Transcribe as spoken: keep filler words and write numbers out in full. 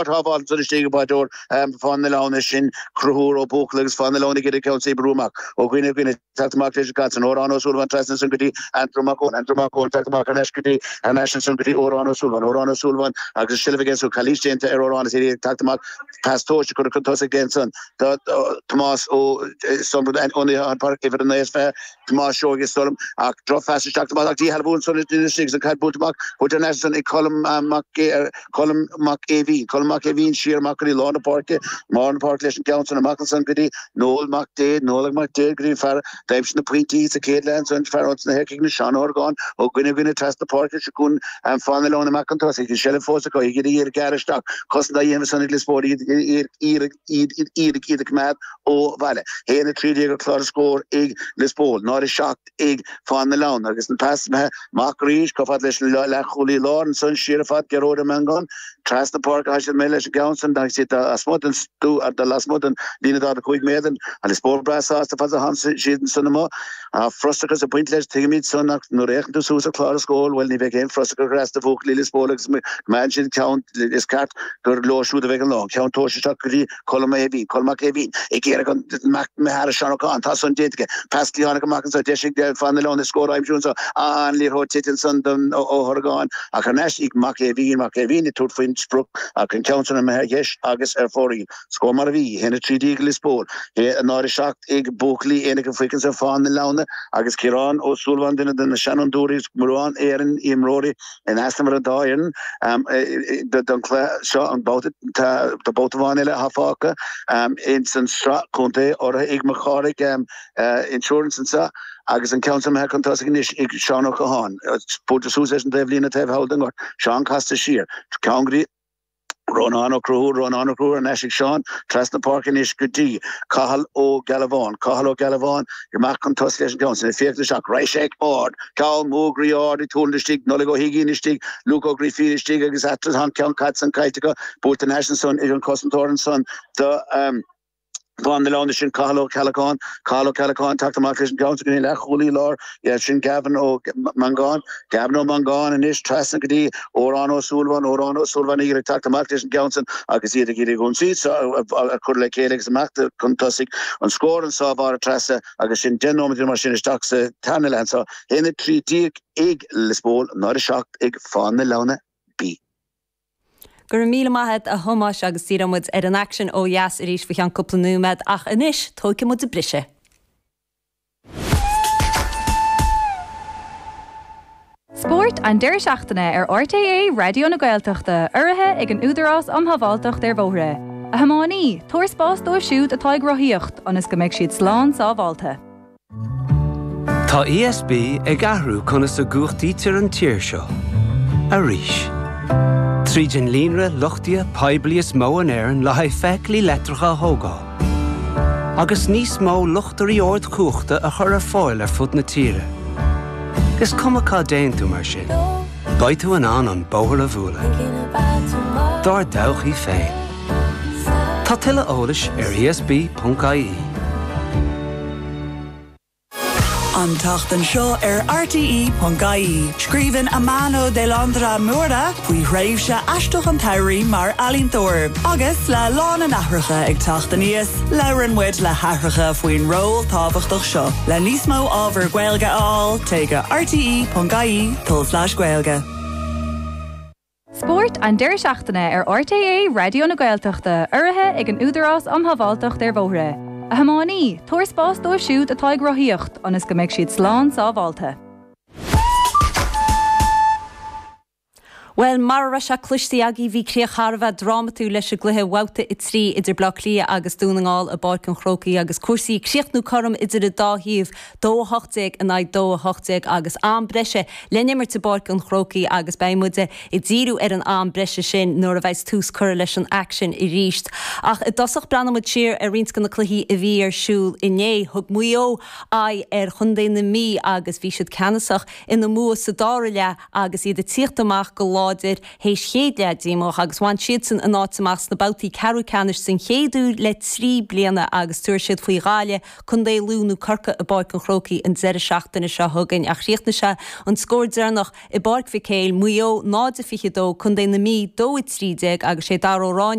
Shábháil ansan istigh ag báireoir Fána na Leanna sin Conchúr Ó Buachalla agus Fána na Leanna ag iarraidh ceann a bhrú amach ó dhuine go duine teacht amach leis an gcaid san Odhrán Ó Súilleabháin trasna ansan go dtí Andrew Mac Eoin Andrew Mac Eoin teacht amach thar n-ais go dtí thar n-ais ansan go dtí Odhrán Ó Súilleabháin Odhrán Ó Súilleabháin agus an seilbh aige ansan calaois déanta ar Odhrán is iad ag teacht amach pas tomhaiste curtha chun tosaigh aige ansan do Tomás Ó uimhir a naoi is fiche Tomás Seoighe is dóigh liom ach drochphas isteach amach ach díshealbhú ansan istigh agus an caid buailte amach buailte thar n-ais ansan ag Colm Mac Colm Mac Aoibhín Colm Mac Aoibhín siar amach go dtí lár na páirce lár na páirce leis an gceann san amach ansan go dtí Noel Mac Dé Noel Mac Dé go dtí fear d'aimsigh na pointí sa chéad leath ansan fear ós na hEircigh na Seán Ó hOrgáin ó dhuine go duine trasna páirce seo chugainn Fána na Leanna amach chun tosaigh an seilbh fós acu ag iarraidh iad a ghearradh isteach cosaint á dhéanamh ansan ag Lios Póil iad iad iad iad iad a choimeád ó bhaile. Haon a trí déag ar chlár na scór ag Lios Póil, náid a seacht ag Fána na Leanna agus an pas imithe amach arís chomh fada leis an leathchúlaí láir ansan siar ar fad Gearóid Ó Mangáin trasna páirce tá siad imithe leis an gceann san agus iad lasmuigh den lasmuigh den líne daichead a cúig méadar. An Lios Póil breá sásta fad a tánn siad ansan amuigh. Tá frustrachas ag baint leis tuigimid san ach nuair a fhéachann tú suas ar chlár na scór bhuel ní bheidh aon frustrachas ar ais do bhuachaillí Lios Póil agus coimeádann siad ceann is ceart gur leo siúd a bheidh an lá. An ceann tomhaiste isteach go dtí Colm Aoibhín, Colm Mac Aoibhín, ag iarraidh an Mac Meara Seán Ó Catháin, tá san déanta aige. Pas cliatháin amach anseo, deis ag Fána na Leanna scór a aimsiú anseo. An liathróid tite ansan don Ó hOrgáin ach thar n-ais ag Mac Aoibhín, Mac Aoibhín ag tabhairt faoin sprioc ach an ceann san imithe ar dheis agus ar fóraoil. Scór mar a bhí, a haon a trí déag ag Lios Póil, a náid a seacht ag buachaillí Aonach an Phoic anso Fána na Leanna agus Ciarán Ó Súilleabháin, duine de na seanfhondúirí is mórán Éireann imreoirí in easnamh ar an dá fhoireann don chluiche seo, an babhta tá babhta amháin eile atá fágtha ins an sraith contae urraithe ag Mac Cárthaigh Insurance anseo agus an ceann san imithe chun tosaigh anois ag Seán Ó Catháin. Buailte suas leis an taobhlíne taobh thall den ngort. Seán casta siar. Ceann go dtí Rónán Ó Conchúir, Rónán Ó Conchúir thar n-ais ag Seán, trasna páirce anois go dtí Cathal Ó Gealbháin, Cathal Ó Gealbháin amach chun tosaigh leis an gceann sin, ag féachaint isteach, raghaidh sé ard, ceann mór groí ard ag tualann istigh, Nollaig Ó hUiginn istigh, Luke Ó Grífín istigh agus eatarthu tá an ceann caite san caillte acu, buailte thar n-ais ansan ag an cosantóir ansan do Fána na Leanna sin Cathal Ó Ceallacháin, Cathal Ó Ceallacháin teacht amach leis an gceann san go dtí an leathchúlaí láir, sin Gavin Ó Mangáin, Gavin Ó Mangáin anois trasna go dtí Odhrán Ó Súilleabháin, Odhrán Ó Súilleabháin ag iarraidh teacht amach leis an gceann san agus iad ag iarraidh ionsaí a chur le chéile agus amach chun tosaigh. An scór anso a Mháire Treasa agus sin deich nóiméad mar sin isteach sa tarna leath anso, haon a trí déag ag Lios Póil, náid a seacht ag Fána na Leanna B. Go raibh míle maith agat a Thomáis agus díreoidh muid ar an aicsean ó dheas arís faoi cheann cúpla nóiméad ach anois tógfaidh muid briseadh. Spórt an deireadh seachtaine ar RTÉ Raidió na Gaeltachta, urraithe ag an Údarás um Shábháilteacht ar Bhóithre. A thiománaí, tabhair spás dóibh siúd atá ag rothaíocht ionas go mbeidh siad slán sábháilte. Tá ESB ag athrú conas a gcumhachtaítear an tír seo. Arís. Tríd an líonra luchtaithe poiblí is mó in Éirinn le haghaidh feithiclí leictreacha a thógáil. Agus níos mó luchtairí ardchumhachta a chur ar fáil ar fud na tíre. Is cuma cá dtéann tú mar sin. Beidh tú in ann an bóthar a bhualadh. Dár dtodhchaí féin. Tá tuilleadh eolais ar ESB.ie. An tseachtain seo ar RTE.ie. Scríobhann Amano de Landra Mura faoi thréimhse aisteach an tsamhraidh mar ealaíontóir. Agus le lá na n-aithreacha ag teacht aníos, labhrann muid le haithreacha faoin ról tábhachtach seo. Le níos mó ábhar Gaeilge a fháil, téigh go RTE.ie tulslais Gaeilge. Spórt an deireadh seachtaine ar RTÉ Raidió na Gaeltachta, urraithe ag an Údarás um Shábháilteacht ar Bhóithre. A thiománaí, tabhair spás dóibh siúd atá ag rothaíocht ionas go mbeidh siad slán sábháilte. Bhuel, mar a raibh sé cloiste agaibh bhí críoch thar a bheith drámatúil leis an gcluiche Bhabhta a trí idir Bleá Cliath agus Dún na nGall i bPáirc an Chrócaigh agus cúrsaí ag críochnú cothrom idir an dá thaobh, dó a hocht déag in aghaidh dó a hocht déag agus am breise le n-imirt i bPáirc an Chrócaigh agus beidh muid ag díriú ar an am breise sin nuair a bheas tús curtha leis an aicsean arís. Ach i dtosach breathnóidh muid siar ar roinnt de na cluichí a bhí ar siúl inné. Thug Maigh Eo aghaidh ar Chontae na Mí agus bhí siad ceannasach ina mbua sa dara leath agus iad ag tíocht amach go láidir. láidir théis chéad leath díomách agus bhain siadsan a n-áit amach sna babhtaí ceathrú ceannais den chéad uair le trí bliana agus tabharfaidh siad faoi Ghaillimh, Contae Lú nó Corcaigh i bPáirc an Chrócaigh an deireadh seachtaine seo chugainn. Ach chríochnaigh sé an scór deireanach i bPáirc Mhic Éil, Maigh Eo náid a fiche dó, Contae na Mí dó a trí déag agus sé Dara Ó Ráinne